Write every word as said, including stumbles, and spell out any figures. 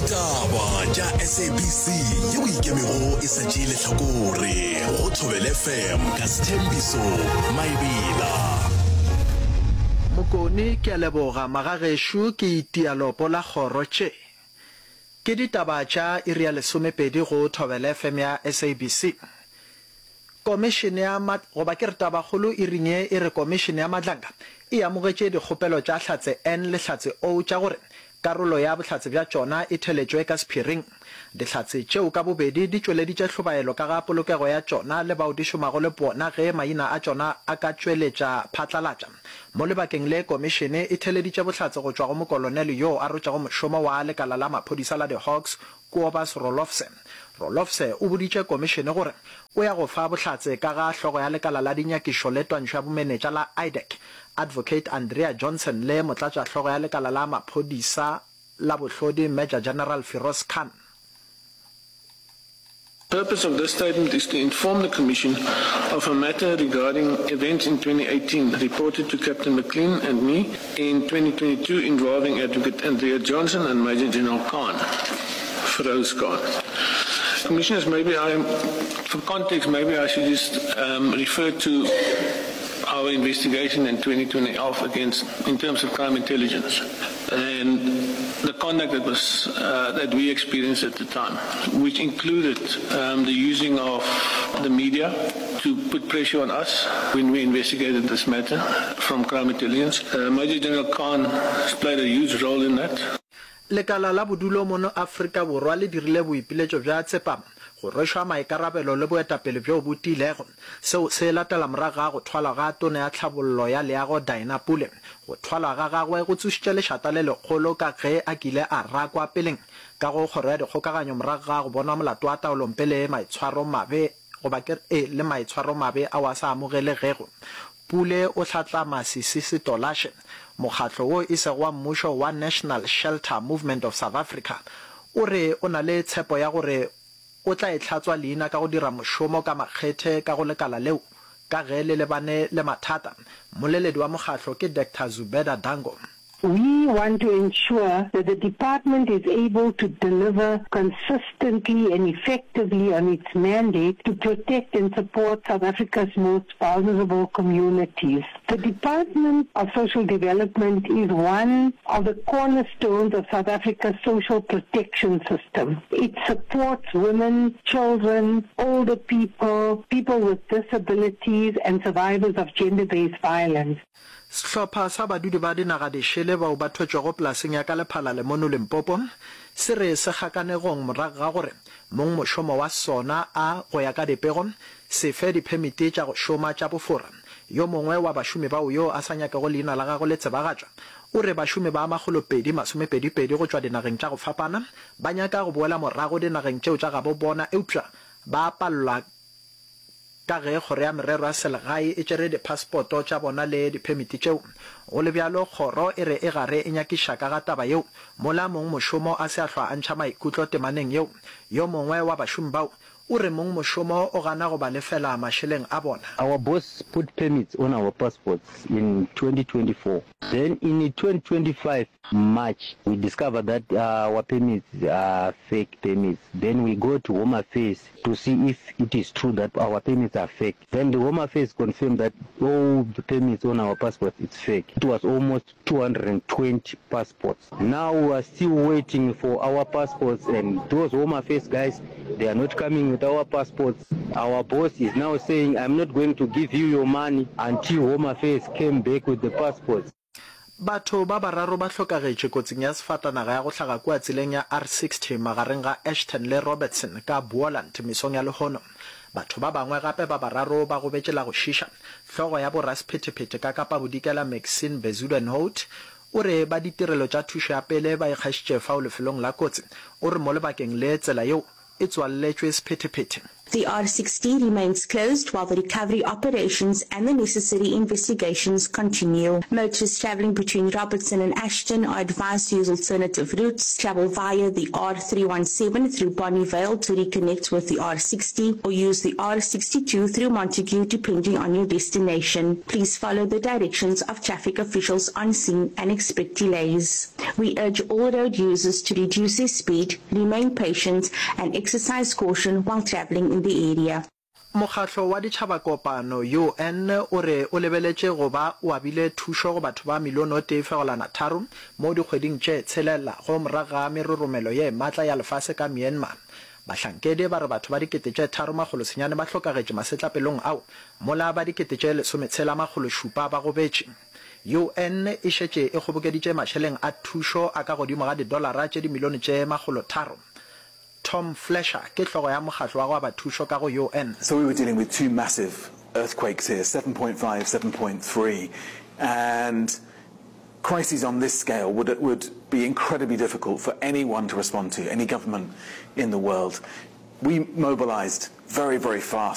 Ditaba tša S A B C yeo ikemego e sa tšee lehlakore go Thobela F M ka Sthembiso Maebela. Mokone, ke a leboga. Magagešo ke itia lopo la kgoro tše. Ke ditaba tša iri ya lesomepedi go Thobela F M ya S A B C. Komišene ya goba ke re tabakgolo iring ye e re Komišene ya Madlanga e amogetše dikgopelo tša Hlatse N le Hlatse O tša gore karolo ya bohlatse bja tšona e theletšwe ka sephiring. Dihlatse tšeo ka bobedi di tšweleditše hlobaelo ka ga polokego ya tšona le bao di šomago le bona ge maina a tšona a ka tšweletša phatlalatša. Mo lebakeng le komišene e theleditše bohlatse go tšwa go mokolonele yoo a rotšego mošomo wa lekala la maphodisa la di-Hawks Kobus Roelofse. Roelofse o boditše komišene gore o ya go fa bohlatse ka ga hlogo ya lekala la dinyakišo le twantšho ya bomenetša la IDAC, Advocate Andrea Johnson le motlatšahlogo ya lekala la maphodisa la bohlodi Major General Firoz Khan. The purpose of this statement is to inform the Commission of a matter regarding events in twenty eighteen reported to Captain McLean and me in twenty twenty-two involving Advocate Andrea Johnson and Major General Khan, Feroz Khan. Commissioners, maybe I, for context, maybe I should just um, refer to our investigation in twenty twenty off against, in terms of crime intelligence and the conduct that was uh, that we experienced at the time, which included um, the using of the media to put pressure on us when we investigated this matter from crime intelligence. Uh, Major General Khan played a huge role in that. Lekala la bodulo mono Afrika Borwa le dirile boipiletšo bja tsepamo, go rwešwa maikarabelo le boetapele bjo bo tiilego. Seo se latela morago ga go thwalwa ga Tona ya Tlhabollo ya Leago Dina Pule. Go thwalwa ga gagwe go tsošitše lešata le legolo ka ge a kile a rakwa peleng ka go Kgoro ya Dikgokaganyo morago ga go bonwa molato wa taolompe le maitshwaromabe goba ke re le maitshwaromabe ao a sa amogelegego. Pule o hlatlama Sisi Tolashe. Mokgatlo wo e sego wa mmušo wa National Shelter Movement of South Africa o re o na le tshepo ya gore o tla e hlatswa leina ka go dira mošomo ka makgethe ka go lekala leo ka ge le lebane le mathata. Mmoleledi wa mokgatlo ke Doctor Zubeda Dango. We want to ensure that the department is able to deliver consistently and effectively on its mandate to protect and support South Africa's most vulnerable communities. The Department of Social Development is one of the cornerstones of South Africa's social protection system. It supports women, children, older people, people with disabilities and survivors of gender-based violence. Sehlopha sa badudi ba dinaga dišele bao ba thwetšwego polaseng ya ka Lephalale mono Limpopo se re se kgakanegong morago ga gore mongmošomo wa sona a, go ya ka dipego, se fe diphemiti tša go šoma tša bofora. Yo mongwe wa bašomi bao yo a sa nyakego leina la gagwe le tsebagatšwa o re bašomi ba makgolopedi masomepedi-pedi go tšwa dinageng tša go fapana ba nyaka go boela morago dinageng tšeo tša gabo bona eupša ba palelwa ka ge Kgoro ya Merero ya Selegae e tšere diphasepoto tša bona le diphemiti tšeo. Go le bjalo, kgoro e re e gare e nyakiša ka ga taba yeo, mola mongmošomo a se a hlwa a ntšha maikutlo temaneng yeo. Yo mongwe wa bašomi bao o re mongmošomo o gana go ba lefela mašeleng a bona. Our boss put permits on our passports in twenty twenty-four. Then in twenty twenty-five March, we discovered that our permits are fake permits. Then we go to Home Affairs to see if it is true that our permits are fake. Then the Home Affairs confirmed that all the permits on our passports it's fake. It was almost two hundred twenty passports. Now we are still waiting for our passports, and those Home Affairs guys, they are not coming with our passports. Our boss is now saying, "I'm not going to give you your money until Home Affairs came back with the passports." Batho ba bararo ba hlokagetše kotsing ya sefatanaga ya go hlaga kua tseleng ya R sixty magareng ga Ashton le Robertson ka Boland mesong ya lehono. Batho ba bangwe gape ba bararo ba gobetše la go šiša. Hlogo ya borasephetephete ka Kapa Bodikela Maxine Bezuidenhout o re ba ditirelo tša thušo ya pele ba ikgašitše fao lefelong la kotsi. O re mo lebakeng le tsela yeo e tswalletšwe sephetephete. The R sixty remains closed while the recovery operations and the necessary investigations continue. Motorists travelling between Robertson and Ashton are advised to use alternative routes, travel via the R three one seven through Bonnievale to reconnect with the R sixty or use the R sixty two through Montagu depending on your destination. Please follow the directions of traffic officials on scene and expect delays. We urge all road users to reduce their speed, remain patient and exercise caution while travelling in the area. Mokgatlo wa Ditšhabakopano, U N, o re o lebeletše go ba o abile thušo go batho ba milione o tee fegelwana tharo mo dikgweding tše tshelela go morago ga meroromelo ye matla ya lefase ka Myanmar. Bahlankedi ba re batho ba dikete tše tharo makgolo senyane ba hlokagetše masetlapelong ao, mola ba dikete tše lesometshela makgolo šupa ba gobetše. U N e šetše e kgobokeditše mašeleng a thušo a ka godimo ga didolara tše dimilione tše makgolo tharo. Tom Fletcher ke hlogo ya mokgatlo wa go aba thušo ka go U N. So we were dealing with two massive earthquakes here, seven point five, seven point three, and crises on this scale would, would be incredibly difficult for anyone to respond to, any government in the world. We mobilized very, very fast.